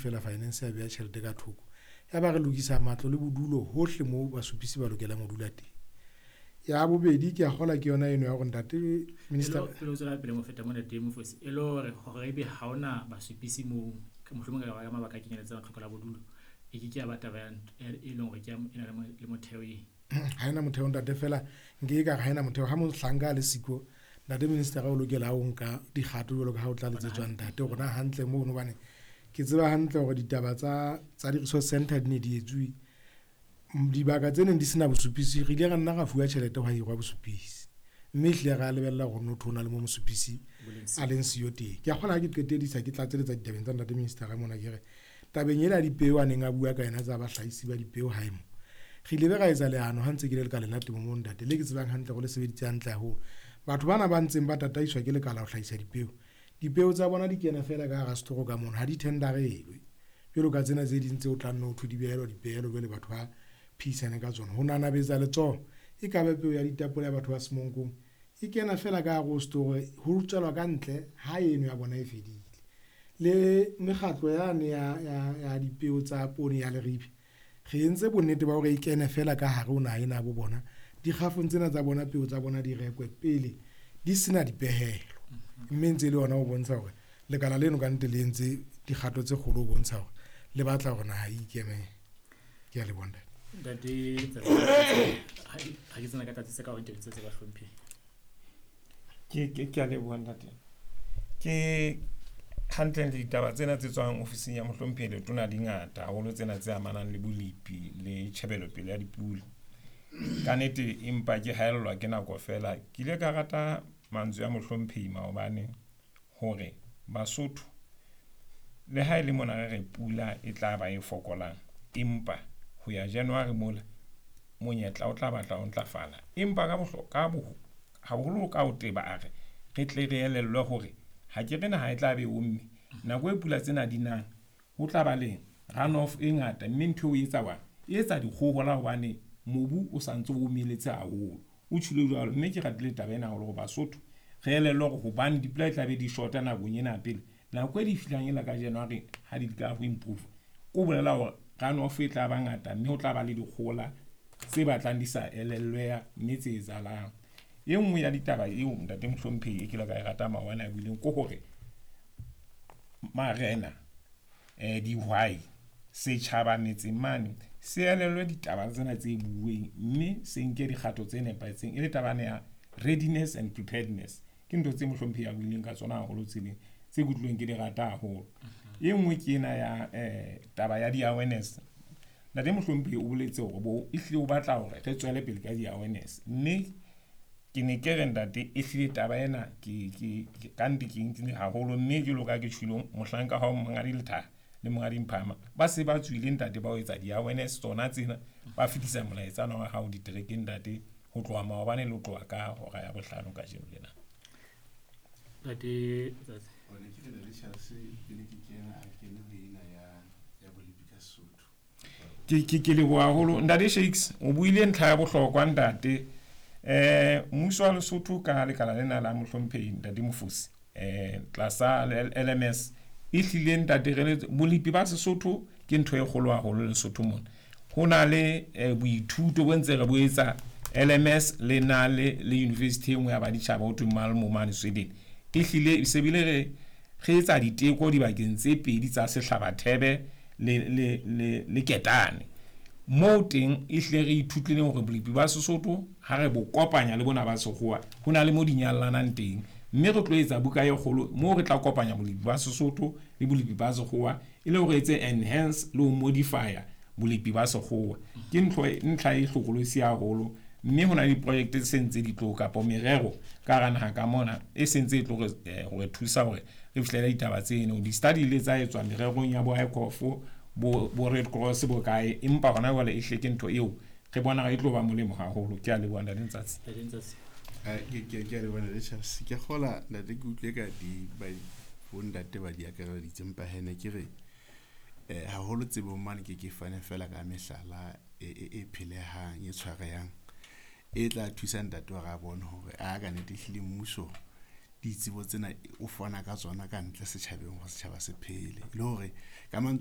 feela finance ya beha tjhelete ka thoko. Ya ba re lokisa matlo le bodulo hohle moo basupisi ba lokelang ho dula teng. Ya bobedi, ke a kgolwa ke yona eno ya hore ntate minister. Pele o tswela pele mo feta mo, ntate Mofosi, e le hore hore ebe ha hona basupisi moo, mohlomong ka ka mabaka a kenyeletsang tlhoko la bodulo, e ke ke ya ba taba e leng hore ke e na le motheo e Ha ena motheo, ntate, fela nke ka re ha ena motheo. Ha mohlanka a le siko, ntate minister, o lokela ho nka dikgato jwalo ka ha o tla letsetswa ntate hore na hantle mono, hobane ke tseba hantle hore ditaba tsa di-resource center di ne di etsuwe dibaka tse neng di sena bosupisi. Re ile ra nna ra fuwa tjhelete ho hirwa bosupisi, mme ehlile ra lebella hore notho ho na le mo mosupisi a leng siyo teng. Ke a kgola ha ke qetedisa, ke tlatseletsa ditabeng tsa ntate minister mona, ke re tabeng ena ya dipeo a neng a bua ka yona tsa bahlahisi ba dipeo hae mo, re ile be ra etsa leano ha ntse ke le lekaleng la temo mo, ntate, le ke tsebang hantle hore le sebeditse hantle haholo. Batho bana ba ntseng ba tataiswa ke lekala ho hlahisa dipeo, dipeo tsa bona di kena feela ka hara setoro ka mono, ha di tenderelwe jwalo ka tsena tse ding tse o tlang no thwe di behelwa dipehelo. Jwale batho ba phehisane ka tsona ho nanabetsa letsoho, e ka ba peo ya ditapole ya batho ba Semonkong, e kena feela ka hare ho setoro, ho tswelwa ka ntle ha eno ya bona e fedile. Le mekgatlo yane ya dipeo tsa poone ya Leribe, re entse bonnete ba hore e kene feela ka hare ho naha ena ya bo bona, dikgafong tsena tsa bona, peo tsa bona di rekwe pele di sena dipehelo. Mme ntse e le yona ho bontsha hore lekala leno ka nnete le entse dikgato tse kgolo ho bontsha hore le batla hore naha e ikemele. Ke a leboha, ntate. Ntate, ha ke tsena ka tlatsitse ka hore ntate tse ba hlomphe. Ke a leboha, ntate. Ke hantle ditaba tsena tse tswang ofising ya mohlomphehi letona di ngata haholo, tsena tse amanang le bolepi le tjhebelopele ya dipula. Ka nete empa ke haellwa ke nako fela. Ke ile ka rata mantswe a mohlomphehi maobane hore Basotho le ha e le mona re re pula e tla ba e fokolang, empa ho ya January mola monyetla o tla batla o ntlafala, empa ka bohlokwa haholo ka ho teba a re re tle re elellwe hore ha ke re naha e tla be omme nako e pula tsena di nang, ho tla ba le runoff e ngata, mme ntho eo e etsa wa e etsa dikgohola hobane mobu o santse o omeletse haholo. O tjhilo jwalo, mme ke ratile taba ena haholo hore Basotho re elellwe hore hobane dipula e tla be di shota nakong ena pele nako e di fihlang ela ka January ha di ka ho improve, ko bolela hore runoff e tla ba ngata, mme ho tla ba le dikgola tse batlang di sa elellweha mme tse etsahalang. E nngwe ya ditaba eo, ntate mohlomphehi, e ke ile ka e rata maobane a buileng ke hore marena, dihwai, setjhaba metseng mane se elellwe ditaba tsena tse bueng, mme se nke dikgato tse nepahetseng, e le tabane ya readiness and preparedness. Ke ntho tse mohlomphehi a buileng ka tsona haholo tseleng tse kutlwileng ke di rata haholo. E nngwe ke ena ya taba ya di-awareness. Ntate mohlomphehi o boletse hore bo ehlile o batla hore re tswele pele ka di-awareness, mme ke ne ke re, ntate, ehlile taba ena ke ka nnete ke nkile haholo, mme jwalo ka ke tjhilo mohlanka wa Monghadi Lethaha le Monghadi Mphama ba se ba tswile, ntate, ba ho etsa di-awareness tsona tsena, ba fetisa molaetsa wa hao diterekeng, ntate, ho tloha maobane le ho tloha ka hora ya 5 kajeno lena. Ntate Tsatsi. One ke re le Charles pele ke kena a kene ho ena ya bolepi ka Sesotho. Ke leboha haholo, ntate Shakes. O buile ntlha ya bohlokwa, ntate. Mmuso wa Lesotho ka lekala lena la mohlomphehi ntate Mofosi tlasa LMS, ehlile ntate re bolepi ba Sesotho ke ntho e kgolo haholo Lesotho mona. Ho na le boithuto bo ntse re bo etsa LMS le na le university e nngwe ya baditjhaba ho thweng Malmo mane Sweden. Ehlile se bile re etsa diteko dibakeng tse pedi tsa Sehlabathebe le Ketane moo teng. Ehlile re ithutlileng hore bolepi ba Sesotho ha re bo kopanya le bona ba Sekgowa, ho na le mo di nyallanang teng, mme re tlo etsa buka e kgolo moo re tla kopanya bolepi ba Sesotho le bolepi ba Sekgowa e le hore etse enhance le ho modify bolepi ba Sekgowa. Ke ntho ntlha e hlokolosi haholo, mme ho na le diprojekte tse sentse di tlo kapa merero ka hara naha ka mona e sentse e tlo re thusa hore re fihlele ditaba tseno. Di-study le tsa etswa mererong ya bo ICOF, bo Red Cross, bo kae, empa hona jwale e hle ke ntho eo re bona e tlo ba molemo haholo. Ke a leboha, ntate Ntsatsi. Ntate Ntsatsi. Ke a leboha, ntate Charles. Ke kgola, ntate, ke utlwe ka di ba bo ntate ba di akareditse, empa he ne ke re haholo tsebong mane ke fane fela ka mehlala e phelehang, e tshwarehang, e tla thusa ntate hore a bone hore a ka nnete ehlile mmuso ditsebo tsena o fana ka tsona ka ntle setjhabeng hore setjhaba se phele le hore ka mantswe.